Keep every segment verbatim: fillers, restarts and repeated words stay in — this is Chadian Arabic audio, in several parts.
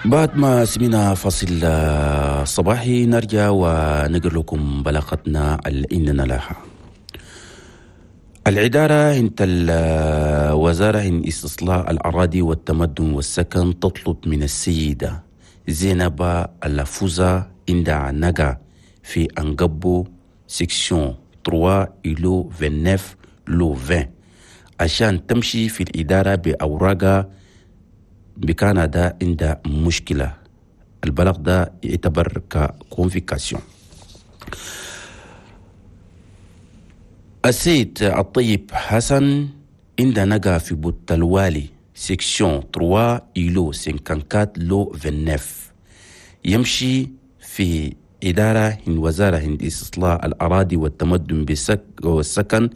بعد ما سمينا فاصل صباحي نرجع ونقر لكم بلاغتنا اللي لها. الإدارة انت الوزارة إن استصلاح الأراضي والتمدن والسكن تطلب من السيدة زينب اللفوزة عند نجا في أنقبو section ثلاثة îlot تسعة وعشرين lot عشرين عشان تمشي في الإدارة بأوراقها بكان ده عند مشكلة. البلاغ ده يعتبر ك convocation. السيد الطيب حسن عند نجا في بوت الوالي section ثلاثة îlot أربعة وخمسين lot تسعة وعشرين يمشي في إدارة هن وزارة هند استصلاح الأراضي والتمدن والسكن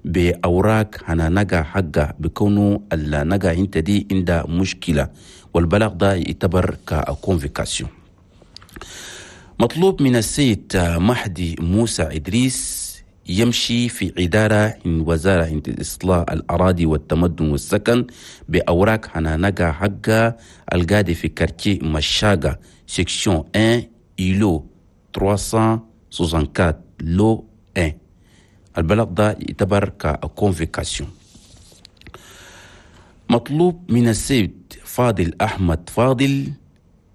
بأوراق هنا نجا حقه بكونه النجا انت دي عند مشكلة، والبلاغ ده يعتبر ك convocation. مطلوب من السيد مهدي موسى إدريس يمشي في إدارة هن وزارة هند إصلاح الأراضي والتمدن والسكن بأوراق هنا نجا حقه القادي في quartier مشاقة section واحد îlot ثلاثمية وأربعة وستين lot واحد. البلاغ ده يعتبر ك convocation. مطلوب من السيد فاضل أحمد فاضل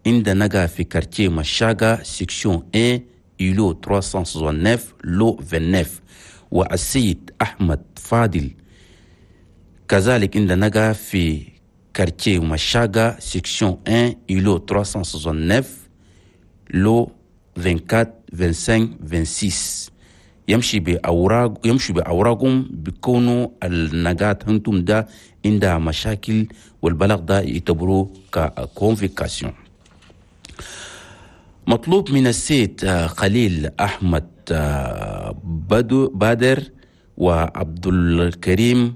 عند نجا في quartier مشاقة section واحد îlot ثلاثمية وتسعة وستين lot تسعة وعشرين، والسيد أحمد فاضل كذلك عند نجا في quartier مشاقة section واحد îlot ثلاثمية وتسعة وستين lot أربعة وعشرين خمسة وعشرين ستة وعشرين يمشي بأوراق يمشي بأوراقهم بيكونوا النجات هنتم ده عندها مشاكل، والبلاغ ده يعتبروه ك convocation. مطلوب من السيد خليل أحمد بدو بادر وعبد الكريم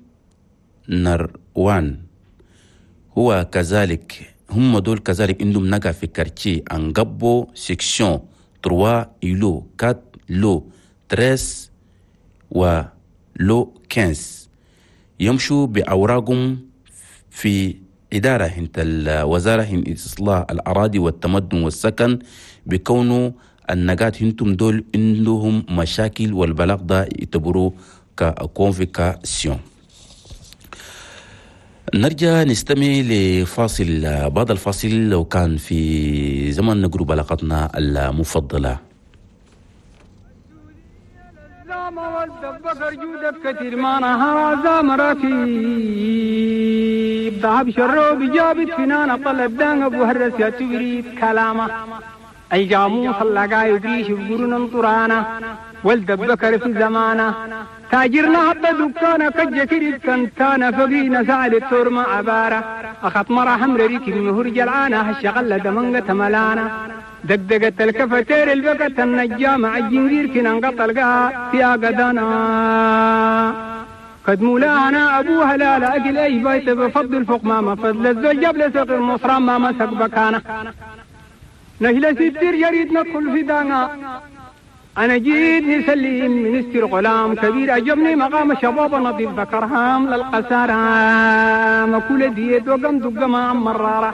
نروان هو كذلك هم دول كذلك عندهم نجا في quartier أنقبو section ثلاثة îlot أربعة lot ثلاثة عشر و lot خمسة عشر يمشوا بأوراقهم في إدارة هنت الوزارة هن إصلاح الأراضي والتمدن والسكن بكونه النجات هنتم دول عندهم مشاكل، والبلاغ ده يعتبروه ك convocation. نرجع نستمع لفاصل، بعد الفاصل لو كان في زمن نقرب بلاغتنا المفضلة. كثير ما نهار زام ركيب ذهب شروب جابت فنانة طلب دان أبو هرس يا تبريد كلامه أي جاموس اللقا يبريش بقرن طرانا ولد بكر في زمانه تاجرنا حتى دكانة كجكري كنتانا فقينا سعد التور ما عبارة أخط مرة حمر ريك المهور جلعانة هالشغلة دمنقة ملانا دقدقت الكفتير البقت النجامة عالجنجير كنا انقطع القاء في قدانا قد مولانا أبوها لا لا أكل أي بيت بفضل فوق ما فضل الزوج جبل سقي المصرى ما مسك بكانا نهلا ستير يريد ندخل في دانا أنا جيت نسلم منستر غلام كبير أجبني مقام شباب نظيف ذكرهام للقسارة مكولة ديت وقم دق ما مرارة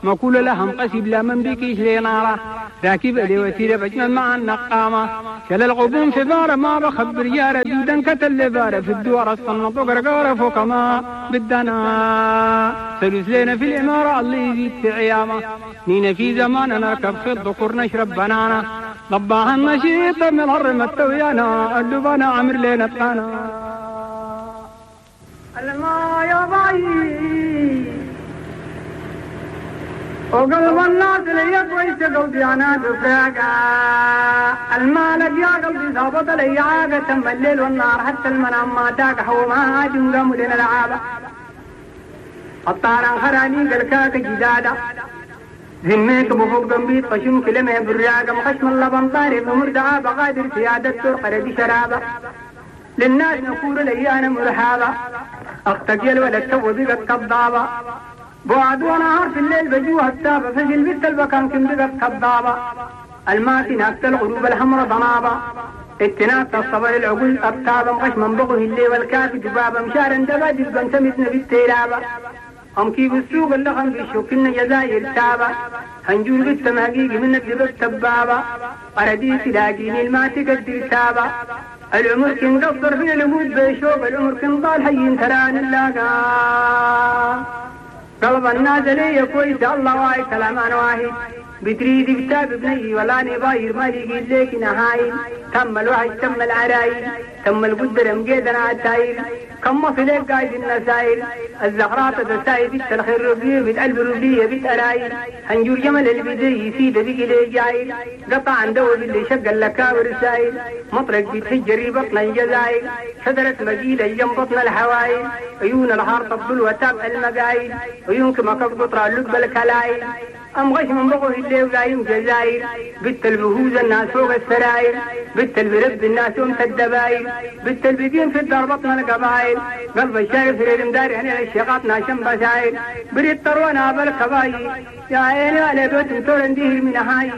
مكولة لهم قسيب لا من بكيش لنارة راكب لي وسيلة بجمل مع النقامة شل الغبون في بارة ما بخبر يارة دودا كتل بارة في الدوار الصنط وقرقارة فوق ما بدنا سلوس لنا في الإمارة الله يزيد في عيامة نينا في زمان نركب في الذكور نشرب بنانا ضباها النشيط من الهرم التويانا اللبانا عمر لنا تقانا الما يا ضعيف وقلب الناس لي كويس قلبي انا دفاقة المالك يا قلبي ظابط لي عاقة تم الليل والنهار حتى المنام ما تاقح وما عاد قاموا لنا العابة الطاران خراني قلكاك جدادة ذميك بفوق قنبيت خشم كلمة براقة مخشم اللبن طاري فمردعة بغادر سيادة ترقر بشرابة للناس نقول لي أنا مرحابة أختك يا الولد تو بقت كضابة بعد ونهار في الليل بجوها التابة فجل بنت البكان كم بقت كضابة الماتي ناكت الغروب الحمر ضنابة اتناك الصبر العقول أبتابة مخشم بغه الليل والكافي دبابة مشارا دبا دبا تمتنا بالتيرابة أمكي بالسوق اللخم بالشوك جزاير تابا هنجور بالتمهقيق من الدبب تبابا أردي تلاقيني الما تقدر تابا العمر كن قصر في نموت بشوق العمر كن ضال حي تران اللاقا قلب النازلية كويس الله واي كلام أنا واحد بتريد بتاب بني ولا نباير ما لقيت ليك نهايل تم الوحش تم العرايل تم القدر مقيدنا عالتايل كم مصلك قايد النسايل الزغرات تسايل بيت الخير ربية بيت قلب ربية بيت أرايل هنجور جمل البدي يسيد بيك لي جايل قطع عن دو اللي شق اللكاور السايل مطرق بيت حجري بطن الجزايل شجرة مجيلة جنب بطن الحوايل عيون الحار تبدل وتاب المقايل عيونك ما قطرة اللب الكلايل أم غش من بقوه اللي ولايم جزاير بنت البهوز الناس فوق السراير بنت البرب الناس أم الدباير بنت البدين في الدار بطن القبايل قلب الشارف في المدار يعني الشيقات ناشم بساير بريد طروانا بالكباير يا عيني على بيت تورن ديه من هاي.